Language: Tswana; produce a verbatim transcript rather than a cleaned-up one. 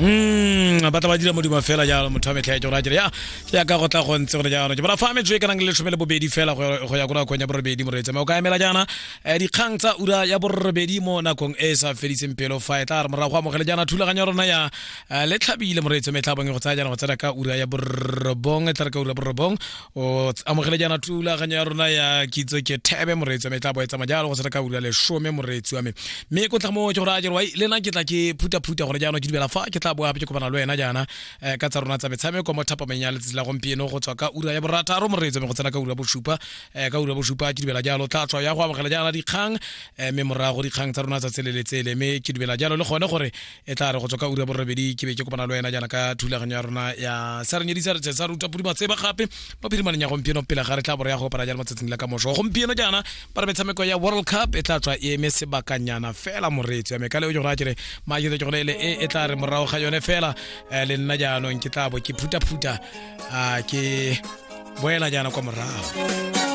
Mm, ba tla ba dira modimo fela jalo motho wa metlha ya ke gore a kere ya jaaka go tla go ntse gore jaanong ke bona fa metso e ka nang le lesome le bobedi fela go go ya ko nakong ya borobedi moreetsi mme o ka emela jaana eh, dikgang tsa ura ya borobedi mo nakong e e sa fediseng pelo fa e tla re morago go amogele jaana thulaganyo ya rona ya eh, le tlhabile moreetsi mme e tla bong e go tsaya jaana go tsena ka ura ya borobong e tla re ka ura ya borobong o amogele jaana thulaganyo ya rona ya kitso ke thebe moreetsi wa me e tla bo e tsamaya jalo go tsena ka ura ya lesome moreetsi wa me mme ko tla mo ke gore a kere wai le nna ke tla ke phutha-phutha gore jaanong ke dumela fa ke tla boa gape ke kopana le wena jaana eh, ka tsa rona tsa metshameko mo thapameng ya letsatsi la gompieno go tswa ka ura ya borataro moreetsi wa me go tsena ka ura ya bosupa eh, ka ura ya bosupa ke dumela jalo tla tswa ya go amogela jaana dikgang eh, mme morago dikgang tsa rona tsa tsele le tsele mme ke dumela jalo le gone gore e tla re go tswa ka ura ya borobedi ke be ke kopana le wena jaana ka thulaganyo ya rona ya sa re nyedisa re sa ruta podi matseba gape mo phirimaneng ya gompieno pele ga re tla bore ya go kopana jalo mo tsatsing la ka moso gompieno jaana ba re metshameko ya world cup e tla tswa e eme sebakanyana fela moreetsi wa me ka leo ke gore a kere maakete ke gore ele e e tla re morago ga yone fela eh, le nna jaanong ke tla bo ke phutha-phutha ah, ke boela jaana kwa morago.